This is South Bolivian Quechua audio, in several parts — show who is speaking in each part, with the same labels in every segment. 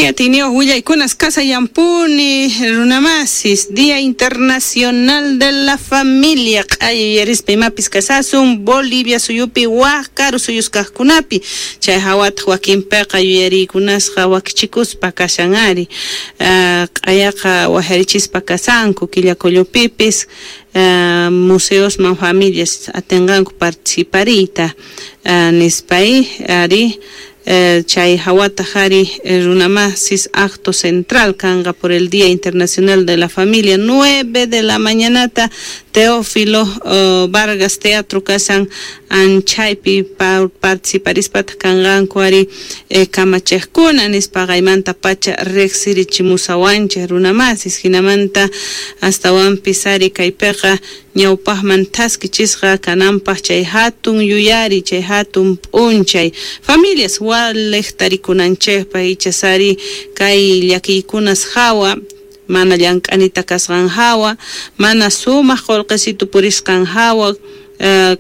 Speaker 1: Ari atiyniyuq willaykunas kasayanpuni runamasis Día Internacional de la Familia q'aya yuyarispa imapis kasasun Bolivia suyupi waj karu suyus kajkunapi chay hawataq wakinpiqa yuyariykunasqa wakichikuspa kashan ari q'ayaqa wajarichispa kasanku killakullupipis museosman familias atinqanku participariyta nispay ari chay hawataq ari runamasis acto central kanqa por el Día Internacional de la Familia 9 de la mañanata Teófilo Vargas Teatro kasan anchaypi participarispa kanqanku ari kamachejkuna nispa qaymanta pacha riqsirichimusawanchej runamasis hinamanta astawanpis ari kaypiqa ñawpaqman thaskichisqa kananpaq chay hatun yuyari chay hatun p'unchay familias waliq tarikunanchejpaq ichasari kay llakiykunas hawa mana llank'anita kasqan hawa mana sumaq qullqisitu purisqan hawa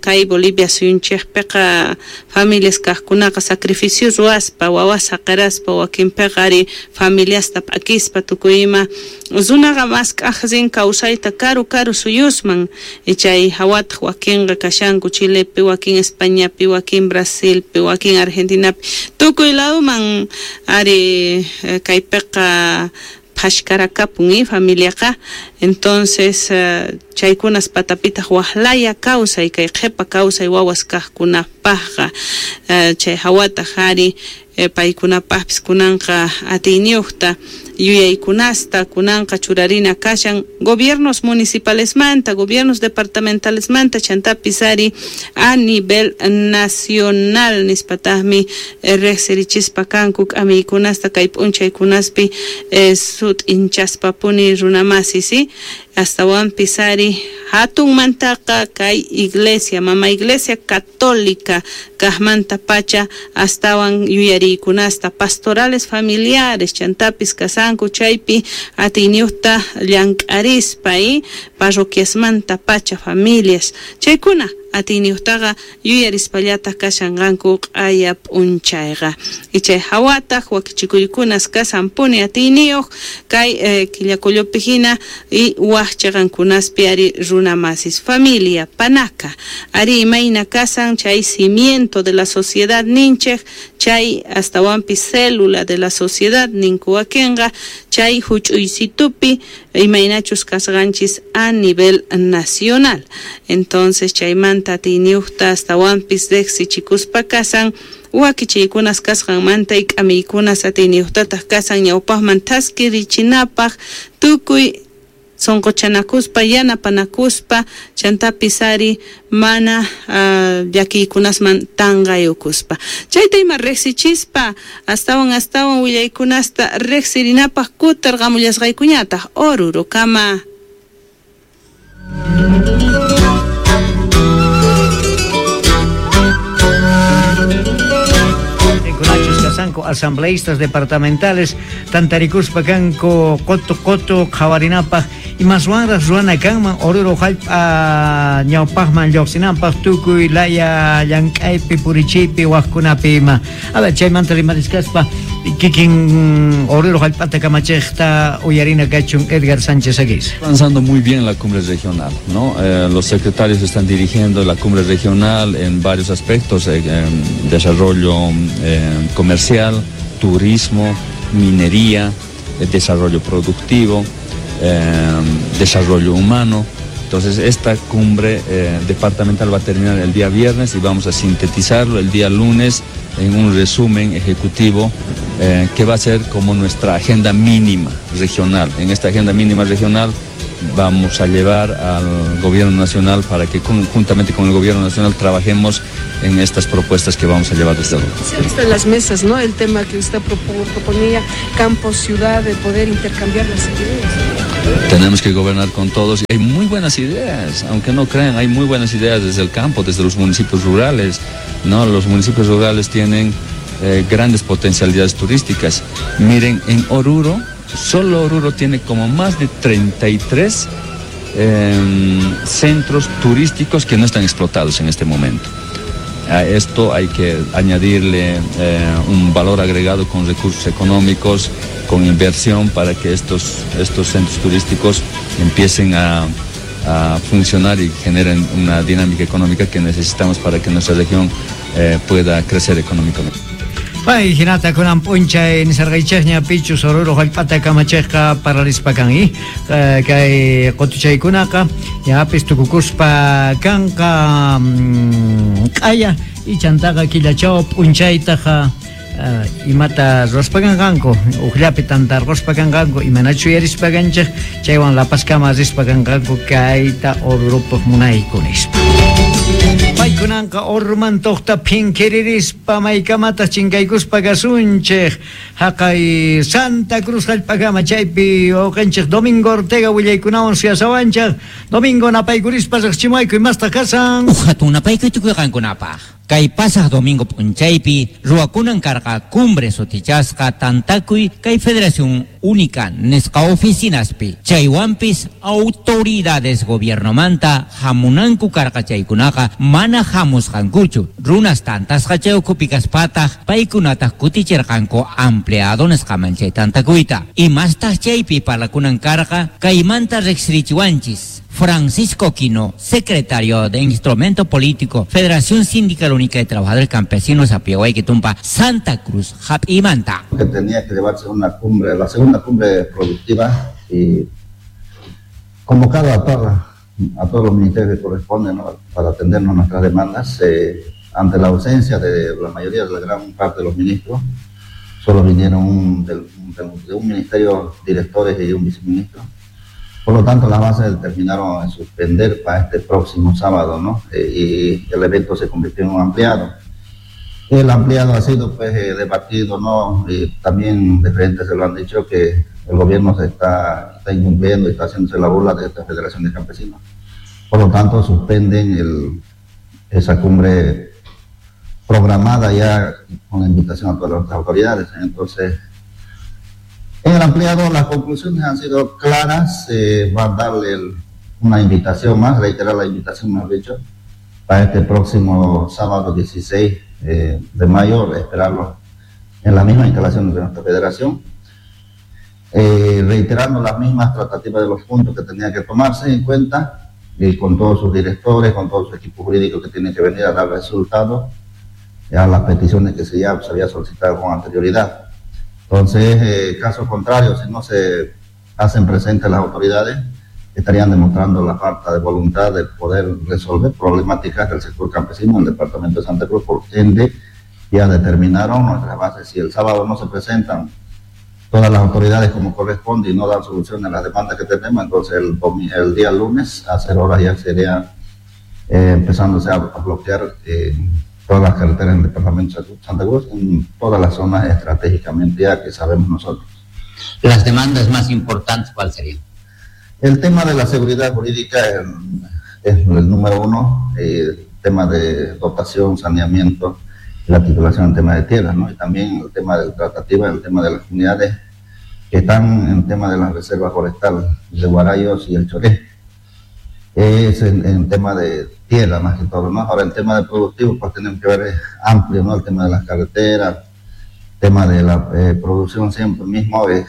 Speaker 1: kay Bolivia suyunchejpiqa familias kajkunaqa sacrificio ruwaspa wawas saqiraspa wakinpiqa ari familiasta p'akispa tukuy ima runaqa mask'aj rin kawsayta karu karu suyusman chay hawataq wakinqa kashanku Chilepi wakin Españapi wakin Brasilpi wakin Argentinapi tukuy laduman ari kaypiqa phashkarakapun familiaqa entonces chaykunas patapitaq waqlaya kawsay kay qhipa kawsay wawas kajkunapaqqa chay hawataq ari paykunapaqpis kunanqa atiyniyuqta yuyaykunasta kunanqa churarina kashan gobiernos municipalesmanta gobiernos departamentalesmanta chantapis ari a nivel nacional nispataqmi riqsirichispa kanku k'amiykunasta kay p'unchaykunaspi sut'inchaspapuni runamasis astawanpis ari hatunmantaqa kay iglesia mama iglesia católica kajmanta pacha astawan yuyariykunasta pastorales familiares chantapis kasanku chaypi atiyniyuqta llank'arispa parroquiasmanta pacha familias chaykuna atiyniyuqtaqa yuyarispallataq kashanqanku q'aya p'unchayqa chay hawataq wakichikuykunas kasanpuni atiyniyuq kay killakullupi hina y waj chiqankunaspi ari runamasis familia panaka ari imayna kasan chay cimiento de la sociedad ninchej chay astawanpis célula de la sociedad ninku wakinqa chay huch'uysitupi imaynachus kasqanchis a nivel nacional entonces chaymanta atiyniyuqta astawanpis riqsichikuspa kasan wakichiykunas kasqanmanta y k'amiykunas atiyniyuqtataq kasan ñawpaqman thaskirichinapaq tukuy sunquchanakuspa yanapanakuspa chantapis ari mana llakiykunasman tanqayukuspa chayta ima riqsichispa astawan astawan willaykunasta riqsirinapaq kutirqamullasqaykuñataq Orurokama.
Speaker 2: Asambleístas departamentales tantarikuspa kanku qotu qotu qhawarinapaq imaswanraq ruwana kanman Oruro jallp'a ñawpaqman lluqsinanpaq tukuy laya llank'aypi purichiypi waqkunapi ima. A ver, chaymanta rimarisqaspa kikin Oruro jallp'ata kamachiqta uyarina kachun Edgar Sánchez Aguirre.
Speaker 3: Avanzando muy bien la cumbre regional, ¿no? Los secretarios están dirigiendo la cumbre regional en varios aspectos, desarrollo comercial, turismo, minería, desarrollo productivo, desarrollo humano. Entonces esta cumbre departamental va a terminar el día viernes y vamos a sintetizarlo el día lunes en un resumen ejecutivo que va a ser como nuestra agenda mínima regional. En esta agenda mínima regional vamos a llevar al gobierno nacional para que juntamente con el gobierno nacional trabajemos en estas propuestas que vamos a llevar desde luego.
Speaker 4: Se ha visto en las mesas, ¿no? El tema que usted proponía, campo, ciudad, de poder intercambiar las ideas.
Speaker 3: Tenemos que gobernar con todos. Hay muy buenas ideas, aunque no crean, hay muy buenas ideas desde el campo, desde los municipios rurales, ¿no? Los municipios rurales tienen grandes potencialidades turísticas. Miren, en Oruro, solo Oruro tiene como más de 33 centros turísticos que no están explotados en este momento. A esto hay que añadirle un valor agregado con recursos económicos, con inversión para que estos centros turísticos empiecen a funcionar y generen una dinámica económica que necesitamos para que nuestra región pueda crecer económicamente.
Speaker 2: Pay hinata kunan p'unchay nisarqaychikña pichus Oruro hallp'ata kamachiqqa paralispa kan kay qutuchaykunaqa ñapis tukukuspa kanqa q'aya ichantaqa killachaw p'unchaytaqa imata ruwaspa kanqanku uqllapi tantarquspa kanqanku imanachu yuyarispa kanchik chaywan lapaskama rispa kanqanku kayta Orurupaq munayku nispa. Paykunanqa Orurumantoqta phinkiririspa maykamataq chinkaykuspa kasunchik haqay Santa Cruz hallp'akama chaypi wawqinchik Domingo Ortega willaykunawan suyasawanchik. Domingo napaykurispa riqchimayku imastaq kasan.
Speaker 5: Uj hatun napaykuy tukuy qankunapaq. Kay pasaq domingo p'unchaypi ruwakunan karqa cumbre sutichasqa tantakuy kay Federación Única nisqa oficinaspi. Chaywanpis autoridades gobiernomanta hamunanku karqa chaykunaqa mana hamusqankuchu. Runas tantasqa chay ukhupi kaspataq paykunataq kutichirqanku ampliado nisqaman chay tantakuyta. Imastaq chaypi parlakunan karqa kaymanta riqsirichiwanchis. Francisco Quino, secretario de Instrumento Político, Federación Sindical Única de Trabajadores Campesinos, Apiahuayquitumpa, Santa Cruz, Japimanta.
Speaker 6: Que tenía que llevarse una cumbre, la segunda cumbre productiva, y convocada a todos los ministerios que corresponden, ¿no?, para atendernos nuestras demandas, ante la ausencia de la mayoría de la gran parte de los ministros, solo vinieron de un ministerio directores y un viceministro. Por lo tanto, las bases determinaron suspender para este próximo sábado, ¿no? Y el evento se convirtió en un ampliado. El ampliado ha sido, pues, debatido, ¿no? Y también diferentes se lo han dicho que el gobierno se está incumpliendo y está haciéndose la burla de esta Federación de Campesinos. Por lo tanto, suspenden esa cumbre programada ya con la invitación a todas las autoridades. Entonces, en el ampliado las conclusiones han sido claras, va a darle una invitación más, reiterar la invitación, mejor dicho, para este próximo sábado 16 de mayo, esperarlo en la misma instalación de nuestra federación, reiterando las mismas tratativas de los puntos que tenía que tomarse en cuenta, y con todos sus directores, con todo su equipo jurídico que tiene que venir a dar resultados a las peticiones que ya se había solicitado con anterioridad. Entonces, caso contrario, si no se hacen presentes las autoridades, estarían demostrando la falta de voluntad de poder resolver problemáticas del sector campesino en el departamento de Santa Cruz. Por ende, ya determinaron nuestras bases. Si el sábado no se presentan todas las autoridades como corresponde y no dan solución a las demandas que tenemos, entonces el día lunes a 0 horas ya sería empezándose a bloquear todas las carreteras en el departamento de Santa Cruz, en todas las zonas estratégicamente ya que sabemos nosotros.
Speaker 5: Las demandas más importantes, ¿cuál serían?
Speaker 6: El tema de la seguridad jurídica es el número uno, el tema de dotación, saneamiento, la titulación en tema de tierras, ¿no? Y también el tema de la tratativa, el tema de las comunidades que están en el tema de las reservas forestales de Guarayos y el Choré. Es en tema de tierra más que todo, ¿no? Ahora el tema de productivo, pues tenemos que ver, es amplio, ¿no? El tema de las carreteras, el tema de la producción siempre mismo, el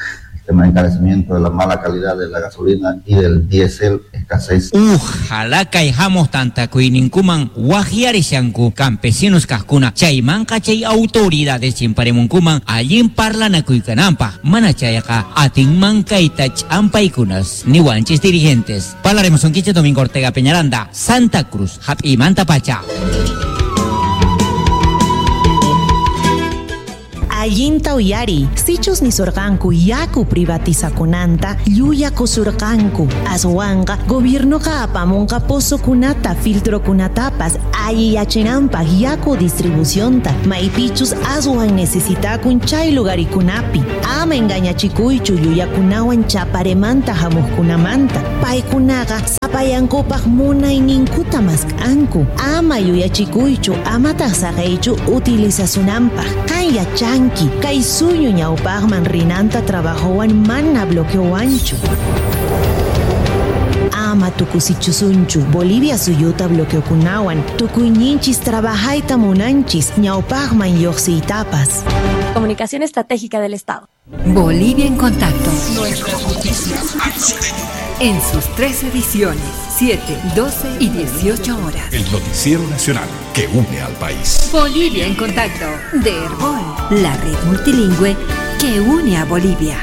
Speaker 6: tema de encarecimiento de la mala calidad de la gasolina y del diésel, escasez.
Speaker 5: Ojalá caijamos tanta kuininkuman wajiarishanku campesinos kajkuna chaymanqa chay autoridades chimparemunkuman allin parlanakuykananpaj mana chayqa atinman kayta ch'ampaykunas niwanchis dirigentes. Parlaremos un quiche Domingo Ortega Peñaranda, Santa Cruz, Jap'imanta Pacha.
Speaker 7: Allinta uyari, sichus nisurqanku yaku privatizakunanta, llullakusurqanku. Aswanqa gobiernoqa apamunqa pozokunata, filtrokunatapas, alliyachinanpaq yaku distribucionta, maypichus aswan necesitakun chay lugarikunapi. Ama engañachikuychu llullakunawan chaparemanta hamuqkunamanta. Paykunaqa sapayankupaq munayninkuta mask'anku. Ama yuyachikuychu, amataq saqeychu utilizasunanpaq. Qan yachanki kay suñu ñawpaqman rinanta trabajowan mana bloqueowanchu. Ama tukusichusunchu Bolivia suyuta bloqueokunawan tukuyninchis trabajayta munanchis ñawpaqman lluqsiytapas.
Speaker 8: Comunicación Estratégica del Estado.
Speaker 9: Bolivia en Contacto. Nuestras noticias. En sus 3 ediciones, 7, 12 y 18 horas.
Speaker 10: El noticiero nacional que une al país.
Speaker 9: Bolivia en Contacto, de Herbol, la red multilingüe que une a Bolivia.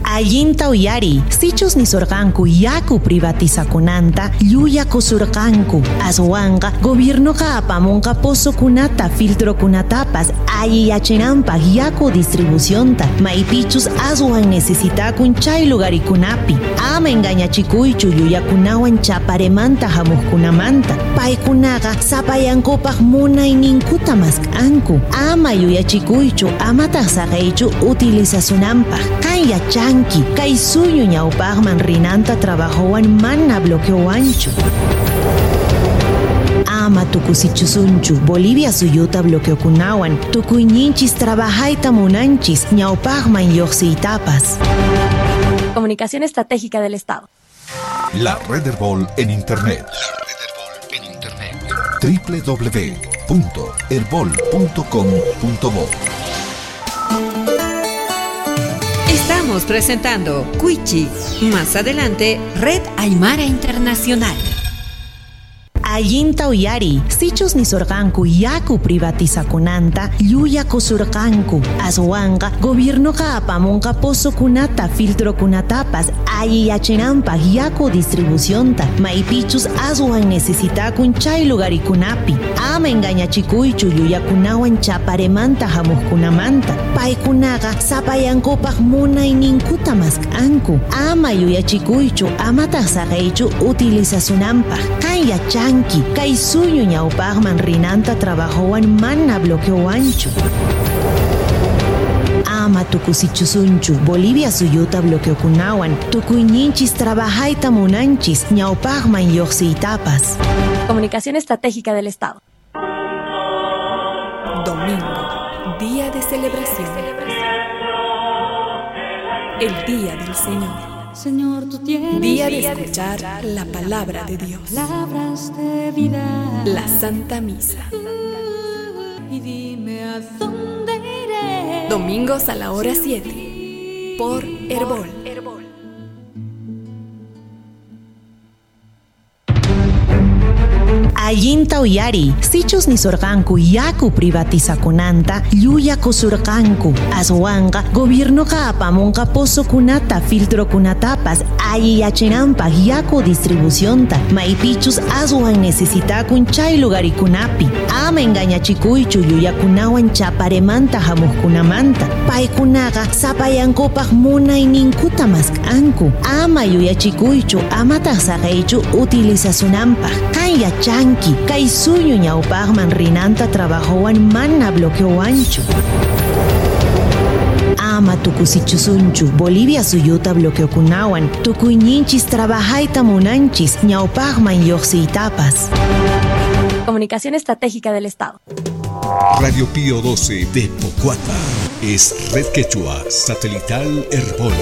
Speaker 7: Allinta uyari, sichus nisurqanku yaku privatizakunanta, llullakusurqanku. Aswanqa gobiernoqa apamunqa pozokunata, filtrokunatapas, alliyachinanpaq yaku distribucionta, maypichus aswan necesitakun chay lugarikunapi. Ama engañachikuychu llullakunawan chaparemanta hamuqkunamanta. Paykunaqa sapayankupaq munayninkuta mask'anku. Ama yuyachikuychu, amataq saqeychu utilizasunanpaq. Qan yachanki kay suñu ñawpaqman rinanta trabajowan mana bloqueowanchu. Ama tukusichusunchu Bolivia suyuta bloqueokunawan tukuyninchis trabajayta munanchis ñawpaqman lluqsiytapas.
Speaker 8: Comunicación Estratégica del Estado.
Speaker 10: La Red Herbol en Internet. La Red Herbol en Internet. www.herbol.com.bo.
Speaker 9: Estamos presentando Cuichi. Más adelante, Red Aymara Internacional.
Speaker 7: Allinta uyari, sichus nisurqanku yaku privatizakunanta, llullakusurqanku. Aswanqa gobiernoqa apamunqa pozokunata, filtrokunatapas, alliyachinanpaq yaku distribucionta, maypichus aswan necesitakun chay lugarikunapi. Ama engañachikuychu llullakunawan chaparemanta hamuqkunamanta. Paykunaqa sapayankupaq munayninkuta mask'anku. Ama yuyachikuychu, amataq saqeychu utilizasunanpaq. Qan yachanki kay suñu ñawpaqman rinanta trabajowan mana bloqueowanchu. Ama tukusichusunchu Bolivia suyuta bloqueokunawan tukuyninchis trabajayta munanchis ñawpaqman lluqsiytapas.
Speaker 8: Comunicación Estratégica del Estado.
Speaker 11: Domingo, día de celebración. El día del Señor.
Speaker 12: Señor, tú tienes
Speaker 11: día de escuchar la palabra de Dios.
Speaker 12: Palabras de vida.
Speaker 11: La Santa Misa.
Speaker 12: Y dime a dónde iré.
Speaker 11: Domingos a la hora 7 por Herbol.
Speaker 7: Allinta uyari, sichus nisurqanku yaku privatizakunanta, llullakusurqanku. Aswanqa gobiernoqa apamunqa pozokunata, filtrokunatapas, alliyachinanpaq yaku distribucionta, maypichus aswan necesitakun chay lugarikunapi. Ama engañachikuychu llullakunawan chaparemanta hamuqkunamanta. Paykunaqa sapayankupaq munayninkuta mask'anku. Ama yuyachikuychu, amataq saqeychu utilizasunanpaq. Qan yachanki kay suñu ñawpaqman rinanta trabajowan mana bloqueowanchu. Ama tukusichusunchu Bolivia suyuta bloqueokunawan tukuyninchis trabajayta munanchis ñawpaqman lluqsiytapas.
Speaker 8: Comunicación Estratégica del Estado.
Speaker 10: Radio Pío 12 de Pocuata es Red Quechua Satelital Herbol.